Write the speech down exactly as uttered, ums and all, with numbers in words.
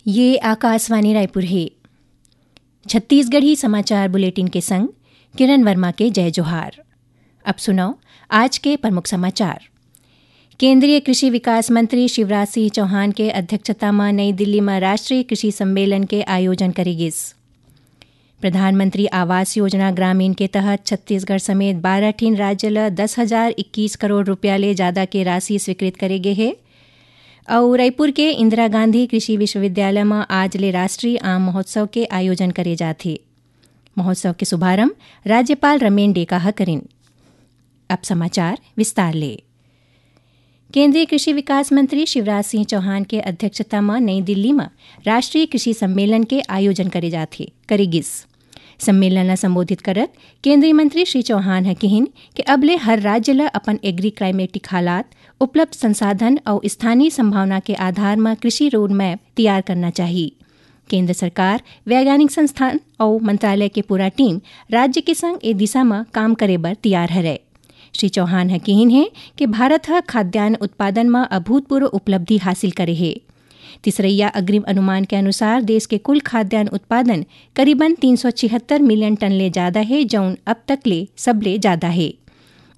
ये आकाशवाणी रायपुर हे। छत्तीसगढ़ी समाचार बुलेटिन के संग किरण वर्मा के जय जोहार। अब सुनव आज के प्रमुख समाचार। केंद्रीय कृषि विकास मंत्री शिवराज सिंह चौहान के अध्यक्षता म नई दिल्ली म राष्ट्रीय कृषि सम्मेलन के आयोजन करे गिस। प्रधानमंत्री आवास योजना ग्रामीण के तहत छत्तीसगढ़ समेत बारह ठिन राज्य ल दस हजार इक्कीस करोड़ रुपया ले जादा के राशि स्वीकृत करे गे हे। अउ रायपुर के इंदिरा गांधी कृषि विश्वविद्यालय म आज ले राष्ट्रीय आम महोत्सव के आयोजन करे जात हे। महोत्सव के शुभारंभ राज्यपाल रमेन डेका ह करिन। अब समाचार विस्तार ले। केंद्रीय कृषि विकास मंत्री शिवराज सिंह चौहान के अध्यक्षता म नई दिल्ली म राष्ट्रीय कृषि सम्मेलन के आयोजन करे जात हे, करे गिस। सम्मेलन ल संबोधित करत केंद्रीय मंत्री श्री चौहान ह किहिन कि अब ले हर राज्य ल अपन एग्री क्लाइमेटिक हालात, उपलब्ध संसाधन अउ स्थानीय संभावना के आधार म कृषि रोड मैप तैयार करना चाही। केंद्र सरकार, वैज्ञानिक संस्थान अउ मंत्रालय के पूरा टीम राज्य के संग ए दिशा म काम करे बर तैयार हरय। श्री चौहान ह किहिन हे कि भारत ह खाद्यान्न उत्पादन म अभूतपूर्व उपलब्धि हासिल करे हे। तीसरइया अग्रिम अनुमान के अनुसार देश के कुल खाद्यान्न उत्पादन करीबन तीन सौ छिहत्तर मिलियन टन ले जादा हे, जउन अब तक ले सबले जादा हे।